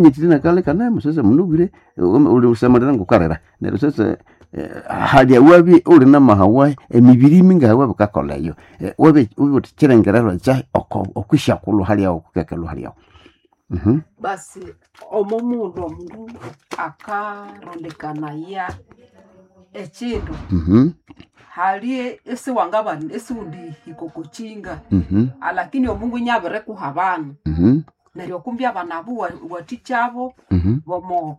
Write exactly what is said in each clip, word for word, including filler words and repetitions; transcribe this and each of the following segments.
Nyitiri nakale kanemo sasa munubwire uli usamalira ngukarira neryo sasa eh, halya wabi uli namahawa emibiri mingaha bikakola eyo. Eh, wabi ubuthi kirengererwa kyahi okwisyakulhu halyawo okukekelwa halyawo. Mhm. Basi omo mundu omundu akarondekanaya ekindu Mhm. hali isiwangabana isiwundihika okwakinga Mhm. alakini omungu inyabirikuha abana Mhm. neryo kumbi abana abo wa- wathikyabo Mhm. bomo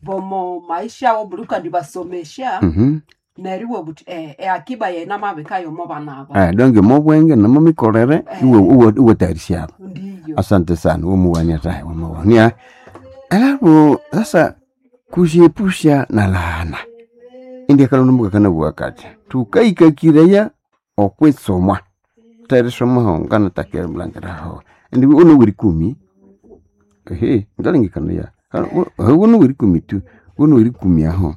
bomo maisha abo buli ukandibasomesya Mhm. neryo iwabugha wuthi eh, eakiba yayi namabika yomo bana aba. Eh, donc mobwenge namomikolere Eh. iwe iwe iwetayarisha Ndiyo. Asante sana umuwania tahe umuwania. Alafu sasa kujiepusha na laana indi akalondomuka kanabugha kati tukaikakireya okwitsomwa terisoma ngana takere mulangiraho indi uno wiri kumi ehe ngalengekana uno wiri kumi tu uno wiri kumi aho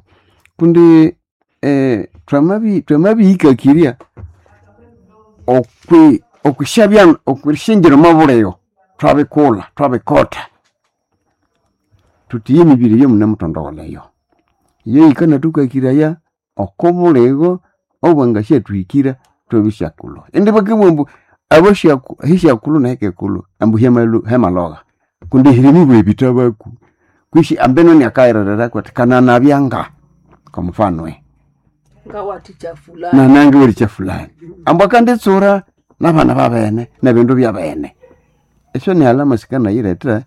kundi eh, twamabi twamabihikakiria okwi okwishabya okwishingira omo twabikulha twabikotha tutiye emibiri yomunamuthondogholeyo iyo yikanathukakiraya oko buligo obwangasyathuhikira twabisyakulhu indi bakabugha ambu abasyaku hisyakulhu nehikikulhu ambu hyamalu hyamalhogha kundi hirimibwa ebithabaku kwisi ambeno inakayiririraku athi kananabyanga kwa mfano eh. Ngawathikya fulani. Nanange walikya fulani ambu akanditsura nabana babene nebindu byabene esyo ni alama sikanayiretha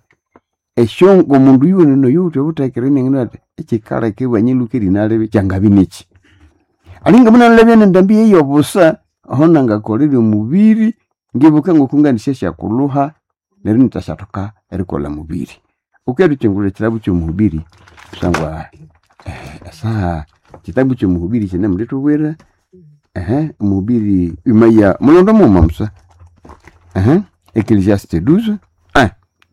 esyo ngomundu yuwene noyuwithe obuthekere iningina athi ekikaleka ibwanyiluka erinalibi kyangabya niki alinga munalabya nendambi eyobusa aho nangakolere omubiri ngibuka ngoku nganisyasyakulhuha neryo inithasyathoka erikolha mubiri wukerukyungulha ekitabu kyomuhubiri kusangwa eh, esaha kitabu kyomuhubiri kyinemulithubwira ehe omuhubiri imaya mulondo mughuma musa ehe Ecclesiastes douze eh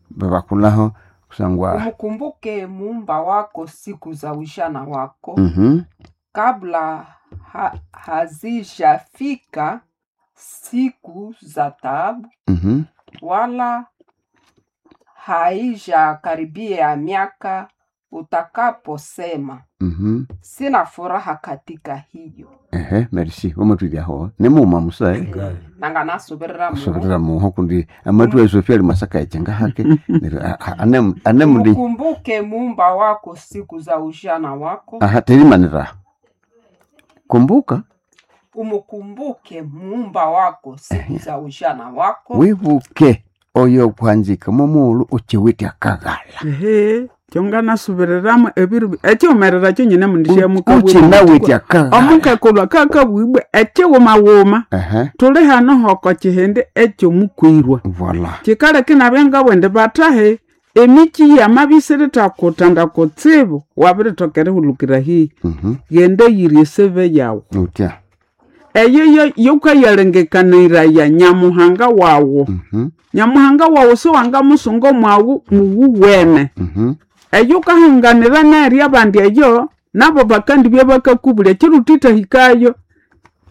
babakulhaho kusangwa Umkumbuke muumba wako siku za ujana wako mhm kabla ha, hazijafika siku za taabu mhm wala haijakaribia miaka utakaposema mhm sina furaha katika hiyo. ehe merci wamatwibyaho nimughuma musa eh? Nanganasubirira muhu kusubirira muho kundi amathu esofia ali masaka echenga hake neryo a- a- ane- anemundi Umkumbuke muumba wako siku za ujana wako aha terimanira kumbuka umukumbuke muumba wako siku za ujana wako wibuke oyo okuhanzika momughulhu ukiwithe akaghala Ehe, kyonganasubiriramu ebiru ekyiwumerera kyonyine mundishamukabwira ukinawithe akaghala omukekulwa kakabwibwe ekyiwumawuma ehe tuli hano hoko kihindi ekyomukwirwa voila kikaleka inabya ngabwendi bathahe emiki yamabisirithakuthanda kutsibu wabirithoka erihulukira hihi mhm ghenda yirya eseve yawu utya eyo yo- yokayalengekaniraya nyamuhanga wawu mhm nyamuhanga wawu siwangamusunga omwawu muwuwene mhm eyo ukahanganira nerya abandi eyo nabo bakandibya bakakubulya kirutithahikayo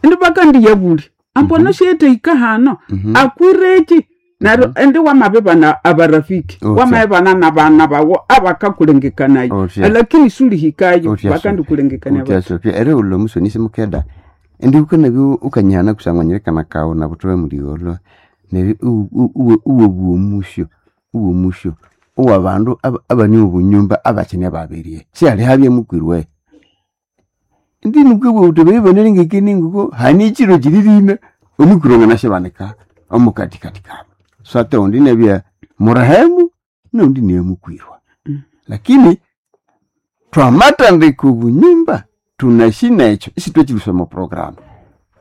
indi bakandiyabulya ambo nosyetahika hano mhm akwireki neryo indi wamabibana abarafiki Otya. wamabibana nabana bawo abakakulengekanayo Otya. lakini sulihikayo Otya, bakandikulengekania utya sofia erighulha omusonisi mukeda indi wukanabya ukanyihana kusangwa nyirekana kawu nabuthobe muligholho neryo iwabugha omusyo uwa omusyo owabandu aba- abane obunyumba abakine babirye sihali habya mukwirwe indi nukabugha wuthi bayibanalengekenie ngoko hani ekiro kiririna omukwirwe anganasyabanika omukatikati kabu swate undi inabya murehemu noundi niye mukwirwa Mm. lakini twamatandika obunyumba tunashina ekyo isitwekyilusya omu program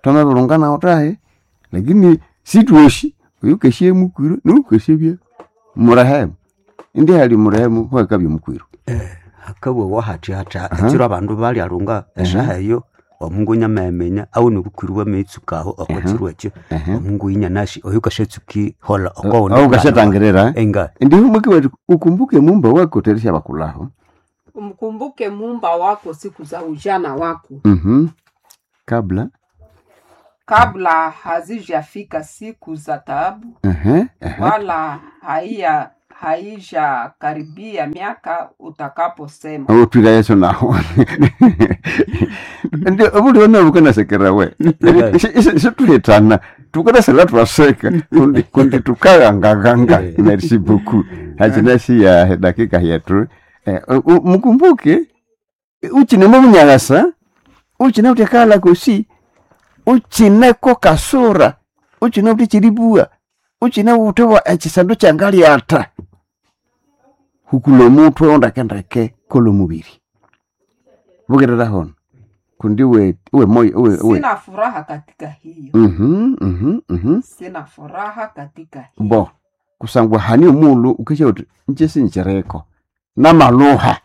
twamabirunganawo tahe lakini sitwoshi oyu ukasya mukwirwa noyu ukasyabya murehemu indi hali murehemu huakabya mukwirwa hakabwawa hathi hathi Aha. ekiro abandu balyalunga esaha eyo omungu nyameminya awune obukwiri bwameitsukaho okokiro ekyo Ehe. omungu inyanasi oyo ukashatsuki hola Au ukashatangirira enga ndi humwikiwa ukumbuke mumba wako terisha bakulaho umkumbuke muumba wako siku za ujana wako mhm kabla kabla hazijafika siku za taabu ehe ehe wala haiya haijakaribia miaka utakaposema Utwira Yesu naho. Ndio obuli ona bukanasekera we. Situletana tukanasela twaseka kundi kundi tukagangaganga. Merci beaucoup. Hachinasi ya dakika yetu. Eh, u- u- mkumbuke uchine mubunyagasa uchine utekala kusi uchineko kasura uchine utichiribua uchine utewa echisandu changali ata hukulo mutwe ondakendeke kolo mubiri bugerera hono kundi we we moyo we we Sina furaha katika hiyo, mhm mhm mhm sina furaha katika hiyo. bo kusangwa hani omulu ukesha uti nje sinjereko namaluha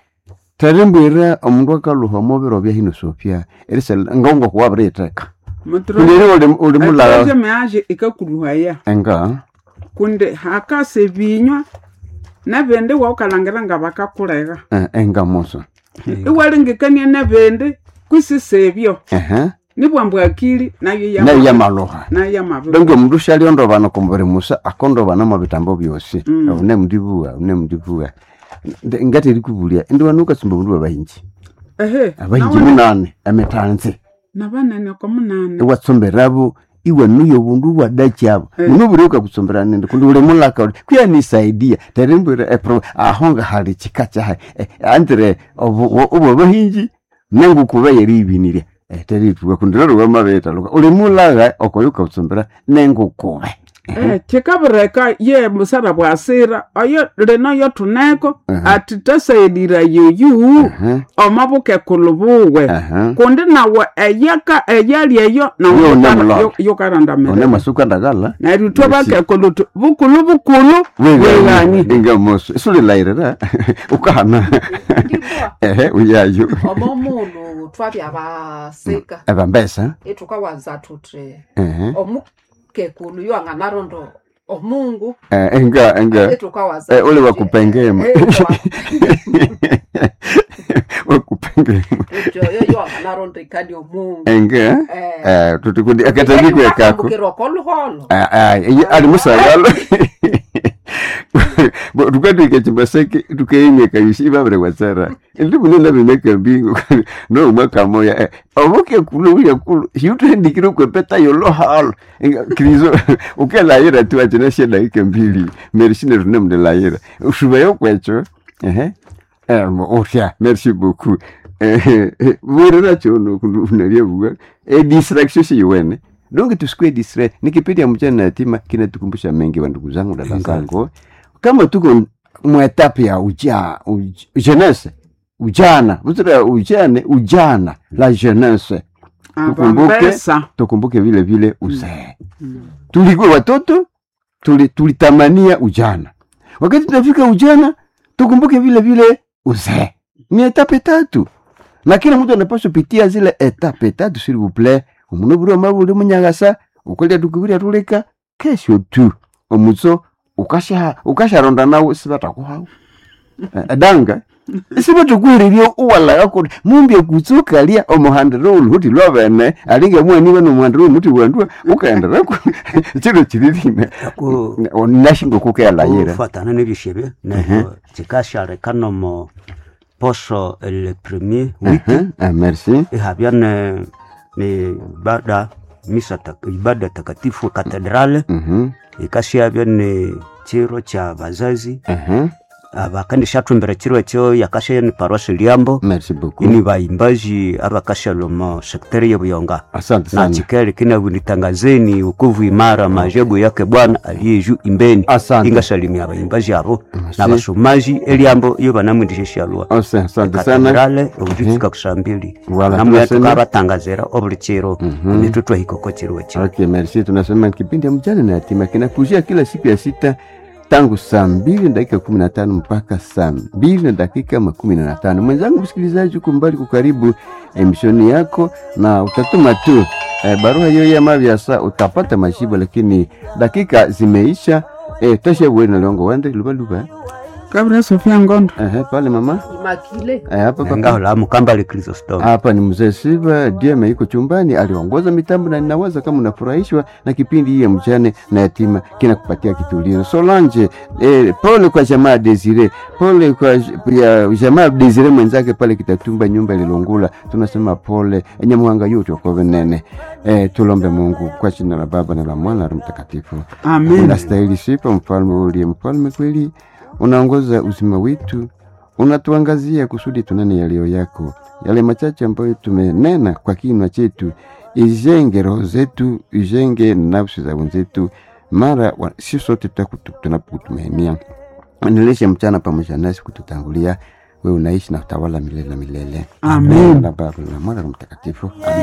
terimbwira omundu akaluha omubiro bya hino sopya erisel ngongo kuwabiriteka kundi uli uli mulala Troisième age ikakuluhaya enga kundi hakasa ebinywa nabindi waukalangira nga bakakulega eh, enga moso iwalengekania nabindi kwisisa ebyo ehe nibwambu akili nayo nayo yamaluha nayo yamabi donge omundu syaliondobana okumubiri musa akondobana mu bitambo byosi Mm. une mundibua une mundibua ngaterikubulya indi wanu ukatsumba mundu wabahinji ehe abahinji nawana- munane emitanzi nabanene ko munane iwatsomberabu iwanuya obundu bwadakyabo Eh. muno buri ukakutsombera nindi kundi uli mulaka uli kuyanisaidia terimbwira epro aho nga hali chika kyahe eh, andire obu abahinji nengukuba yeribinirya eh, terituka kundi lero wamabetaluka uli mulaga okoyo ukakutsombera nengukube Eh, kikabireka ye musara bwasira oyo lino yo tuneko Mhm. ati tasaidira yoyu Aha, omabuke kulubuwe aha. kundi nawe eyaka eyali eyo nawe Yo yukara- namulala. yo- one yukarandamira masuka ndagala neryo ithwe Merci. bakekulu tu bukulu bukulu bweghanyi inga moso isulilayirira ukahana Ndibwa ehe uyayo omo mulu twabya basika ebambesa itukawanza tuti ehe omukekulu yo anganarondo omungu Eh, enga enga itukawaza Eh, ule wakupengema wakupengema oyo yo anganarondo ikani omungu enga Eh. eh tutikundi akatandikwe kako Ukambukirwa koluholo Ah, ah, iye ali musagalo tukatwika chimbaseke tukeimeka yusi ibabire watsara ndi munene bimeka mbingu no mwaka moya eh, obuke kulu uya kulu hiutendikire kwepeta yolo halo krizo ukelayira tu achina sheda ike mbili merishine rune mdelayira ushubayo kwecho ehe eh otya merci beaucoup eh bwirira chono kundu buga e distraction si yuwene donc tusikue distrait ni kipindi ya mchana na yatima kinatukumbusha mengi wa ndugu zangu dada zangu kama tuko mwetape ya uja, uj, jeunesse ujana buzira ujane ujana la jeunesse tukumbuke abambesa tukumbuke vile vile uzee tulikuwa watoto tuli, tulitamania ujana wakati tunafika ujana tukumbuke vile vile uzee ni etape tatu na kila mtu anapaswa pitia zile etape tatu s'il vous plaît omundu buri omabuli munyagasa ukolya tukubirya tuleka kesho tu omutso ukasha ukasharonda nawo sibatakuhawo Eh, danga sibatakuhererya uwalaka kuti mumbye kutsukalya omuhandiro oluhuti lwabene alinga mwaniwe nomuhandiro omuti wandua ukaenderako chiro chiririne Ku- nashinga kukealayira kufatana n'ebishebe neryo kikashaleka nomo poso le premier wiki merci ihabya ne ne ibada misa tak, ibada takatifu katedrale Mhm, ikashabya ne chiro cha bazazi mhm. abakandishathumbira chiro ekyo yakasha ni parosi liambo merci beaucoup ini baimbaji abakashaloma sekteri yebuyonga asante na sana chikele kinabunitangazeni ukovu imara maajabu yake Bwana aliye juu imbeni Asante. ingasalimia abaimbaji abo Merci. na basomaji eliambo iyo banamwindisha shalwa Ose, asante sana katedrale obujutsuka kusambili Wala, namwe tunasema- tukabatangazira obuli chiro netwe twahikoko chiro ekyo Okay, merci. Tunasema kipindi ya mjane na yatima kinakujia kila siku ya sita tangu saa mbili na dakika kumi na tano mpaka saa mbili na dakika makumi na tano. Mwenzangu msikilizaji, uko mbali kukaribu emishoni yako na utatuma tu eh, barua hiyo ya mavyasa utapata majibu, lakini dakika zimeisha. Eh, tosha bwe na longo wende luba luba. Kabira Sofia Ngondo. Ehe, pale mama Imakile. Eh, hapa papa ngahola mukambale Chrysostom Hapa ni mzee Siva Dieme yuko chumbani, aliongoza mitambo na ninawaza kama unafurahishwa na kipindi hii ya mjane na yatima kinakupatia kitulizo. Solange, eh, pole kwa jamaa Desire, pole kwa j- ya jamaa Desire mwenzake pale Kitatumba, nyumba ililungula, tunasema pole enyamuhanga yote okove nene. Eh, tulombe Mungu kwa jina la Baba na la Mwana na Roho Mtakatifu. Amen. Unastahili sifa, mfalme uliye mfalme kweli, unaongoza uzima wetu, unatuangazia kusudi tunene yaliyo yako. Yale machache ambayo tumenena kwa kinywa chetu, ijenge roho zetu, ijenge nafsi za wenzetu, mara wa- si sote tutakutu- tunapokutumainia. Endeleshe mchana pamoja nasi kututangulia, wewe unaishi na utawala milele na milele. Amen. Na Baba na Mwana na Roho Mtakatifu. Amen.